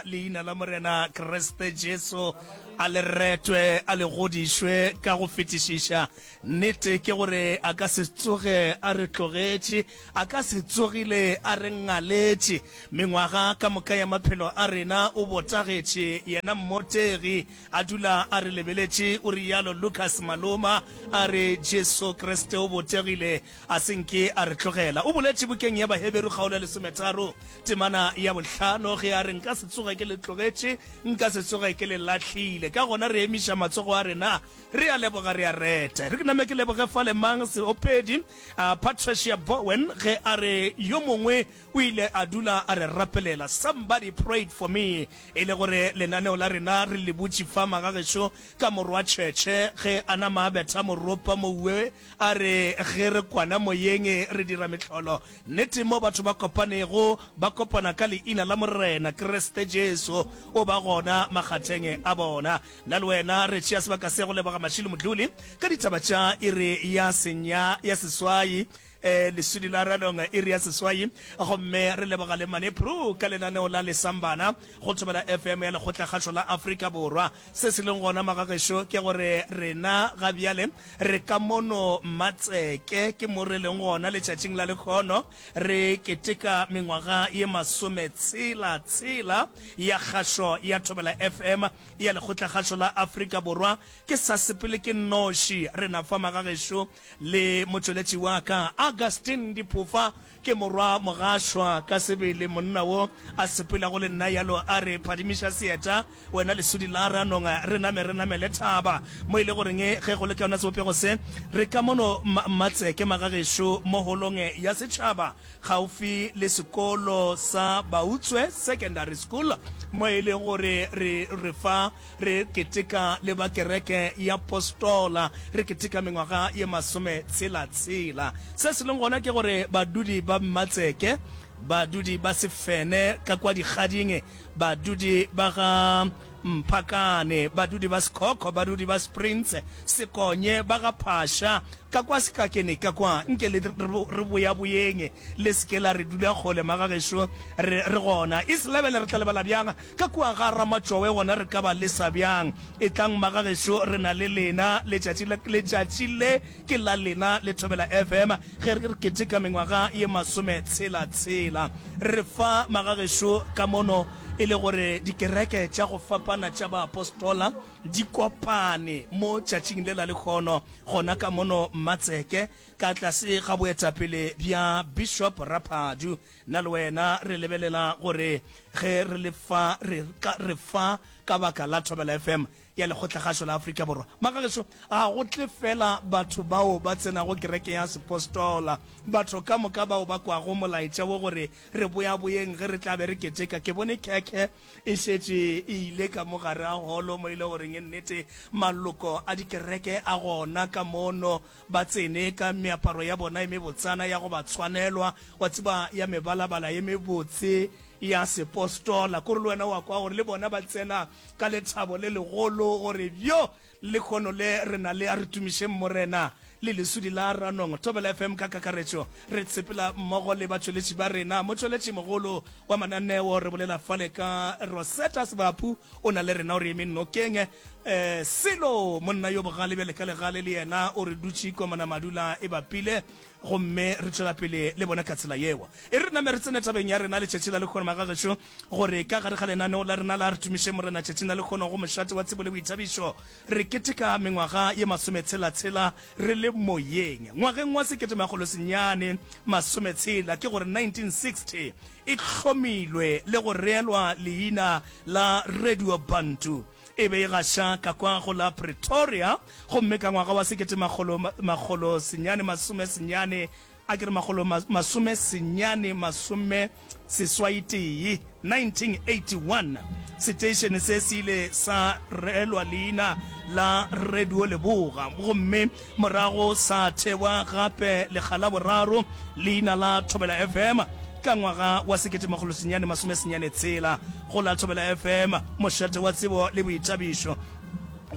Leina la Morena Kriste Jesu a le retwe, a le godišwe ka go fetišiša. Nnete ke gore a ka se tsoge a re tlogetše, a ka se tsogile a re ngaletše. Mengwaga ka moka ya maphelo a rena o botagetše, yena mmotegi, a dula a re lebeletše, o realo Lucas Maloma, a re Jesu Kriste o botegile, a se nke a re tlogela. O boletše bukeng ya Baheberu kgaolo ya lesometharo Temana ya bohlano, ge a re, Nka se tsoge ke le tlogetše, nka se tsoge ke le lahlile. Ka gona re emiša matsogo a rena, re a leboga, re a reta. Re ke name ke leboge fale mang seopedi, uh, Patricia Bowen, ge a re, Yo mongwe o ile a dula a re rapelela. Somebody prayed for me. E le gore lenaneo la rena re le butše fa magagešo ka morwa tšhetšhe, ge a nama a betha moropa mouwe, a re, Ge re kwana moyeng re dira mehlolo. Nnete, mo batho ba kopanego, ba kopana ka Leina la Morena Kriste Jesu, O ba gona makgatheng a bona. Nna le wena re tšea sebaka se go leboga Mashilo Modluli ka ditaba tša iri ya senya, ya seswai, eh, leswidi la ranong, iri ya seswai. Gomme re leboga le Mane Prue ka lenaneo la Lesambana go Thobela FM ya Lekgotlakgašo la Afrika Borwa. Se se leng gona, magagešo, ke gore rena ga bjale re ka mono Matseke, ke mo re leng gona letšatšing la lekhono, re keteka mengwaga ye masometshela tshela ya kgašo ya Thobela FM ya Lekgotlakgašo la Afrika Borwa. Ke sa sepele ke nnoši, rena fa magagešo le motšweletši wa ka, Augustine Diphofa, Ke morwa mogašwa ka sebele, monna wo a sepelago le nna yalo a re, Phadimiša seeta, wena lesodi la ranong, re name re namele thaba. Mo e le goreng ge go le ka yona sebopego se, re ka mono Mmatseke magagešo mo holong ya setšhaba gaufi le sekolo sa Bautswe Secondary School, mo e leng gore re re fa Re keteka le ba kereke ya Postola, re keteka mengwaga ye masometshela-tshela. Se se leng gona ke gore badudi ba Mmatseke, badudi ba Sefene ka kwa Dikgading, badudi ba ga Mphakane, badudi ba Sekhokho, badudi ba Springs, Sekonye, ba ga Phasha, ka kwa Sekakene ka kwa, nke le re boyaboyeng, le se ke la re dula kgole magagešo, re, re gona. East Lebele re tla lebala bjang? Ka kua ga Ramatšowe gona re ka ba lesa bjang? Etlang magagešo re na le lena letšatši le, letšatši le ke la lena le Thobela FM ge re keteka mengwaga ye masometshela tshela. Re fa magagešo ka mono e le gore dikereke tša go fapana tša baapostola di kopane mo tšatšing le la lekhono gona ka mono Mmatseke ka tlase ga boetapele bja Bishop Raphadu. Nna le wena re lebelela gore ge re le fa, re, ka, re fa ka baka la Thobela FM ya Lekgotlakgašo la Afrika Borwa. Magagešo, ga go tle feela batho bao ba tsenago kereke ya sepostola, batho ka moka bao ba kwago molaetša wo gore re boyaboyeng ge re tla be re keteka. Ke bone khekhe e šetše e ile ka mo gare ga holo mo e le goreng nnete maloko a dikereke a gona ka mono Ba tsene ka meaparo ya bona e mebotsana ya go ba tshwanelwa, wa tseba, ya mebalabala ye mebotse ya sepostola. Kore le wena wa kwa gore le bona ba tsena ka lethabo le legolo, gore, Bjo, lehono le re na le, a re tumišeng Morena le lesudi la Ranong. Thobela FM ka kakaretšo, re tshepela mmogo le batšweletši ba rena. Motšweletši mogolo wa mananeo, re bolela fale ka Rosetta Sebapu, o na le rena, o re eme nokeng. Eh, selo monna yo bogale bjale ka legale le yena o re dutše komana madula e bapile, gomme re tšwela pele le bona ka tsela yeo. E re name re tsene tabeng ya rena letšatši la lekgono magagešo, gore ka gare ga lenaneo la rena la Re Tumiše Morena tšatšing la lekgono go mošate wa tsebo le boithabišo re keteka mengwaga ye masometshela-tshela re le moyeng. Ngwageng wa sekete-makgolo-senyane masometshela, ke gore 1960, e hlomilwe le go reelwa leina la Radio Bantu. E be e gaša ka kwa go la Pretoria, gomme ka ngwaga wa 1998, a ke re makgolo masomesenyane masomeseswai-tee, 1981, seteišene se se ile sa reelwa leina la Radio Leboga, gomme morago sa thewa gape lekga la boraro leina la Thobela FM ka ngwaga wa 1996 go la Thobela FM, mošate wa tsebo le boithabišo.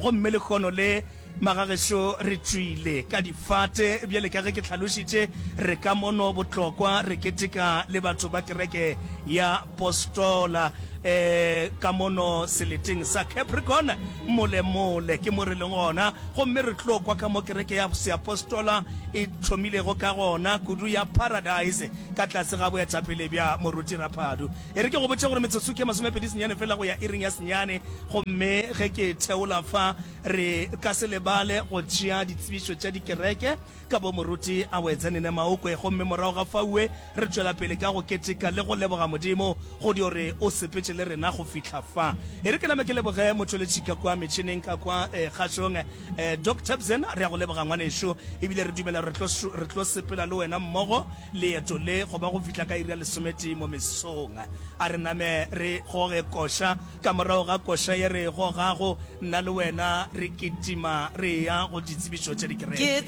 Gomme lehono le, magagešo, re tšwile ka difate, bjale ka ge ke hlalošitše, re ka mono Botlokwa re keteka le batho ba kereke ya Postola. E, ka mono seleteng sa Capricorn, molemole ke mo re leng gona, gomme re tlo kwa ka mo kereke ya seapostola e thomilego ka gona, kudu ya Paradise, ka tlase ga boetapele bja Moruti Raphadu. E re ke go botše gore metsotso ke 29 fela go ya iring ya senyane, gomme ge ke theola fa, re ka se lebale go tšea ditsebišo tša dikereke ka bo Moruti Awedzeni Nemaokwe, gomme morago ga faue re tšwela pele ka go keteka le go leboga Modimo go dio re o sepetše le rena go fihla fa. E re ke name ke leboge motšweletši ka kwa metšhineng ka kwa kgašong, Doc Tebsen, re a go leboga ngwanešu, ebile re dumela re tlo, re tlo sepela le wena mmogo leeto le go ba go fihla ka iri ya lesometee mo mesong. A re name re goge koša, ka morago ga koša ye re e gogago, nna le wena re kitima re eya go ditsebišo tša dikereke.